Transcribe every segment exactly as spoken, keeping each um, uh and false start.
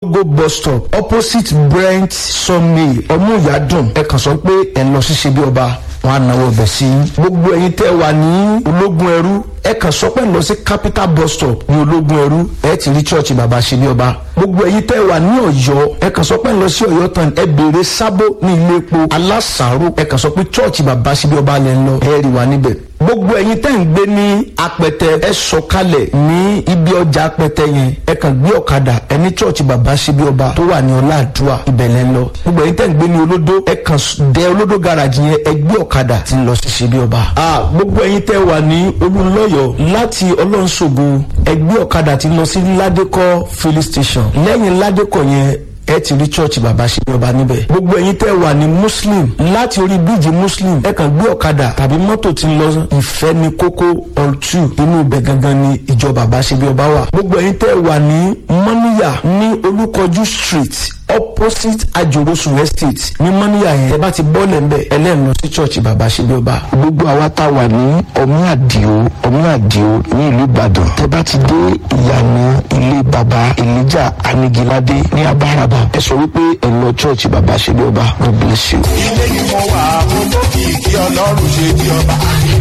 Go bus stop opposite Brent Sawmill Ọmúyàdùn, ẹ kàn sọ pé ẹ lọ sí ṣe bí ọba, wọn á náwó ọbẹ̀ sí i. Gbogbo ẹ̀yin tẹ́ wà ní Ológun Ẹrú, ẹ kàn sọ pé lọ sí Capital bus stop ní Ológun Ẹrú, ẹ ti rí church bàbá ṣe bí ọba. Gbogbo ẹ̀yin tẹ́ wà ní Ọ̀yọ́, ẹ kàn sọ pé lọ sí Ọ̀yọ́ tán, ẹ béèrè Sábó ní ilé epo Alásàárò, ẹ kàn sọ pé church bàbá ṣe bí ọba lẹ ń lọ, ẹ rí wa níbẹ̀. Gbogbo ẹ̀yin tẹ́ ń gbé ní Apẹtẹ, ẹ sọ̀kalẹ̀ ní ibi ọjà Apẹtẹ yẹn, ẹ kàn gbé ọ̀kadà, ẹ ní church bàbá ṣe bí ọba tó wà ní Ọláàdúà, ibẹ̀ lẹ ń lọ. Gbogbo ẹ̀yin tẹ́ ń gbé ní Olódó, ẹ kàn dé Olódó garage yẹn, ẹ gbé ọ̀kadà tí ń lọ sí ṣe bí ọba. A gbogbo ẹ̀yin tẹ́ wà ní Olúnlọ́yọ̀, láti Ọlọ́nṣogo, ẹ gbé ọ̀kadà tí ń lọ sí Ládékọ́ filling station. Lẹ́yìn Ládékọ́ yẹn, ẹ ti rí church bàbá ṣe bí ọba níbẹ̀. Gbogbo ẹ̀yin tẹ́ wà ní Muslim, láti orí bíríìjì Muslim, ẹ kàn gbé ọ̀kadà tàbí mọ́tò tí ń lọ Ìfẹ́ ní Kókó all two, inú ibẹ̀ gangan ni ìjọ bàbá ṣe bí ọba wà. Gbogbo ẹ̀yin tẹ́ wà ní Mọ́níyà, ní Olúkọjú Street opposite Ajorosun Estate ní Mọ́níyà yẹn, ẹ bá ti bọ́ọ̀lẹ̀ ńbẹ̀, ẹlẹ́nu lọ sí church bàbá ṣe bí ọba. Gbogbo àwa tá a wà ní Ọmí Àdìo, Ọmí Àdìo ní ìlú Ìbàdàn, tẹ bá ti dé ìyànà ilé bàbá Elijah Anigilade ní Abáraba, ẹ sọ wípé ẹ lọ church bàbá ṣe bí ọba. God bless you. Ilé ni mo wà, mo tó kì í kí Ọlọ́run ṣe bí ọba.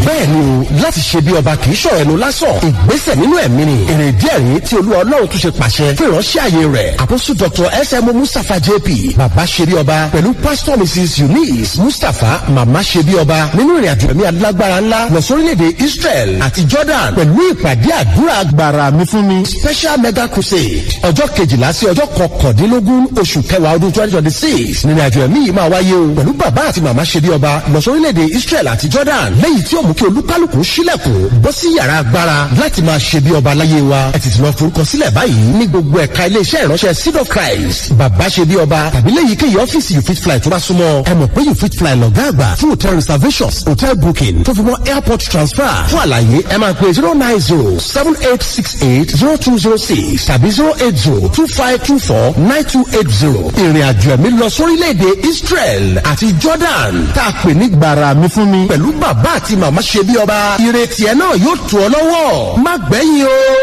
Bẹ́ẹ̀ ni o, láti ṣe bí ọba kì í ṣọ̀rọ̀ ẹnu lásán, ìgbésẹ̀ nínú ẹ̀mí ni. Èrè díẹ̀ rí tí Olúwa Ọlọ́run tún ṣe pàṣẹ fún ìránṣẹ́ àyè rẹ̀, Apostle Doctor S M Mustapha J P, bàbá ṣe bí ọba, pẹ̀lú Pastor Missus Eunice Mustapha, màmá ṣe bí ọba, nínú ìrìn àjò ẹ̀mí alágbára ńlá lọ sórílẹ̀-èdè Israel àti Jordan pẹ̀lú ìpàdé àdúrà gbàrà mi fún mi special mega crusade. Ọjọ́ kejìlá sí ọjọ́ kọkàndínlógún oṣù kẹwàá ọdún twenty twenty six nínú àjò ẹ̀mí yìí máa wáyé o, pẹ̀lú bàbá àti màmá ṣe bí ọba lọ sórílẹ̀-èdè Israel àti Jordan, lẹ́yìn tí ó mú kí olúkálùkù sílẹ̀kùn bọ́ sí yàrá agbára láti máa ṣe bí ọba láyé wa. Ẹ tètè lọ forúkọ sílẹ̀ báyìí ní gbogbo ẹ̀ka iléeṣẹ́ ìránṣẹ́ Seed of Christ, bàbá ṣe bí ọba, tàbí léyìíkéyìí ọ́fíìsì You Fit Fly tó bá súnmọ́. Ẹ mọ̀ pé You Fit Fly lọ̀gá àgbà fún hotel reservations, hotel booking, tó fi mọ́ airport transfer. Fún àlàyé, ẹ máa pè zero nine zero seven eight six eight zero two zero six tàbí zero eight zero two five two four nine two eight zero. Ìrìn àjò ẹ̀mí lọ sórílẹ̀-èdè Israel àti Jordan tá a pè ní gbàrà mi fún mi pẹ̀lú bàbá àti màmá ṣe bí ọba, ìrètí ẹ náà yóò tù ọ lọ́wọ́. Má gbẹ̀yìn o.